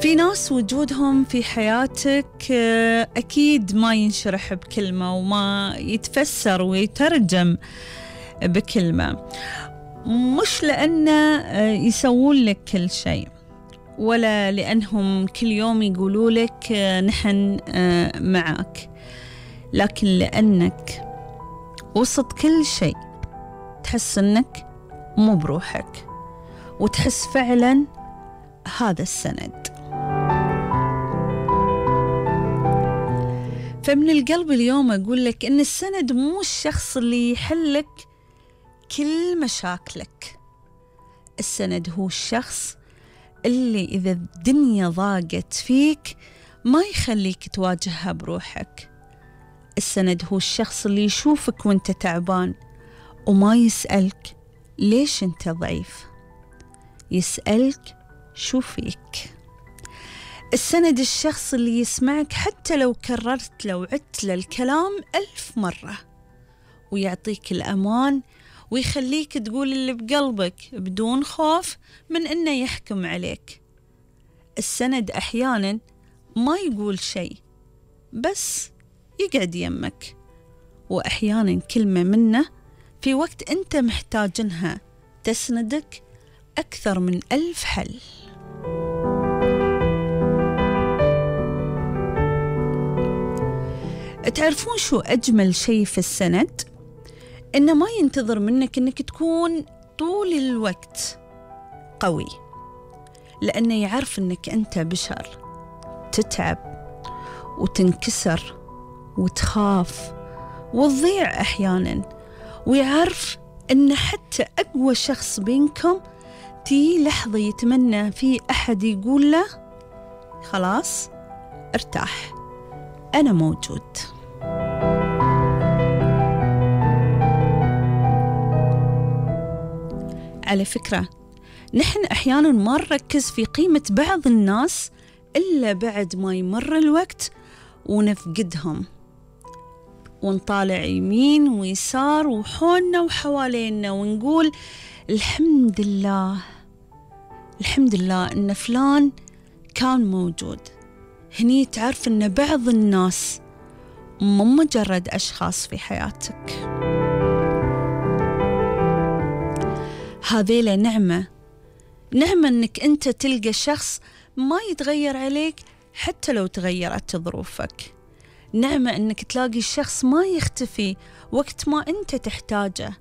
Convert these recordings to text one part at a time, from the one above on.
في ناس وجودهم في حياتك أكيد ما ينشرح بكلمة وما يتفسر ويترجم بكلمة، مش لأنه يسوون لك كل شيء ولا لأنهم كل يوم يقولوا لك نحن معك، لكن لأنك وسط كل شيء تحس أنك مو بروحك وتحس فعلا هذا السند. فمن القلب اليوم أقول لك إن السند مو الشخص اللي يحلك كل مشاكلك، السند هو الشخص اللي إذا الدنيا ضاقت فيك ما يخليك تواجهها بروحك. السند هو الشخص اللي يشوفك وانت تعبان وما يسألك ليش انت ضعيف، يسألك شو فيك. السند الشخص اللي يسمعك حتى لو كررت لو عدت للكلام 1000 مرة، ويعطيك الأمان ويخليك تقول اللي بقلبك بدون خوف من إنه يحكم عليك. السند أحيانا ما يقول شيء بس يقعد يمك، وأحيانا كلمة منه في وقت أنت محتاجنها تسندك أكثر من 1000 حل. تعرفون شو أجمل شيء في السند؟ إنه ما ينتظر منك إنك تكون طول الوقت قوي، لأنه يعرف إنك أنت بشر تتعب وتنكسر وتخاف وتضيع أحيانا، ويعرف إن حتى أقوى شخص بينكم تي لحظة يتمنى في أحد يقول له خلاص ارتاح أنا موجود. على فكرة نحن أحيانا ما نركز في قيمة بعض الناس إلا بعد ما يمر الوقت ونفقدهم، ونطالع يمين ويسار وحولنا وحوالينا ونقول الحمد لله الحمد لله إن فلان كان موجود. هني تعرف إن بعض الناس مو مجرد أشخاص في حياتك، هذيلا نعمة إنك أنت تلقى شخص ما يتغير عليك حتى لو تغيرت ظروفك، نعمة إنك تلاقي شخص ما يختفي وقت ما أنت تحتاجه،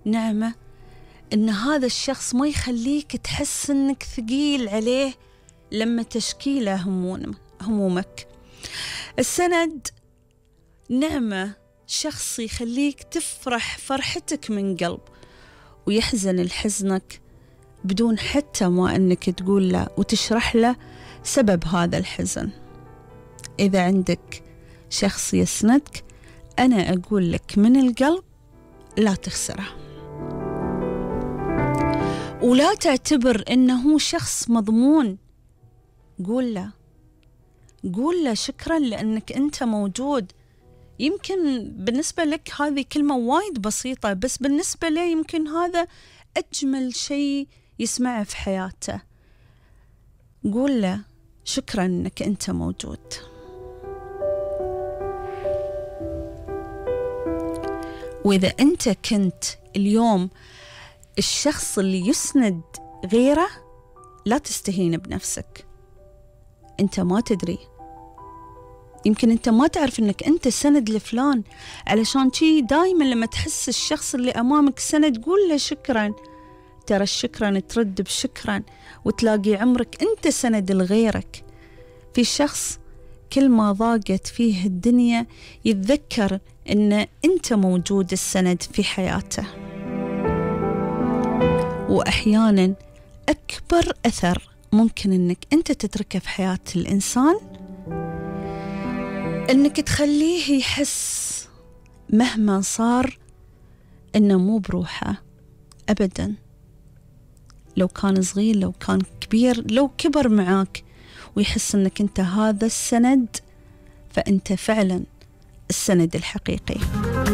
نعمة إن هذا الشخص ما يخليك تحس إنك ثقيل عليه لما تشكي له همومك. السند نعمة شخص يخليك تفرح فرحتك من قلب ويحزن لحزنك بدون حتى ما أنك تقول له وتشرح له سبب هذا الحزن. إذا عندك شخص يسندك أنا أقول لك من القلب لا تخسره، ولا تعتبر أنه شخص مضمون. قول له شكرا لأنك أنت موجود. يمكن بالنسبة لك هذه كلمة وايد بسيطة، بس بالنسبة له يمكن هذا أجمل شيء يسمعه في حياته. قول له شكرا أنك أنت موجود. وإذا أنت كنت اليوم الشخص اللي يسند غيره لا تستهين بنفسك، أنت ما تدري، يمكن أنت ما تعرف أنك أنت سند لفلان، علشان شي دايما لما تحس الشخص اللي أمامك سند قول له شكرا. ترى الشكرا ترد بشكرا وتلاقي عمرك أنت سند لغيرك. في شخص كل ما ضاقت فيه الدنيا يتذكر أن أنت موجود السند في حياته. وأحيانا أكبر أثر ممكن أنك أنت تتركه في حياة الإنسان أنك تخليه يحس مهما صار أنه مو بروحه أبدا، لو كان صغير لو كان كبير لو كبر معاك، ويحس أنك أنت هذا السند، فأنت فعلا السند الحقيقي.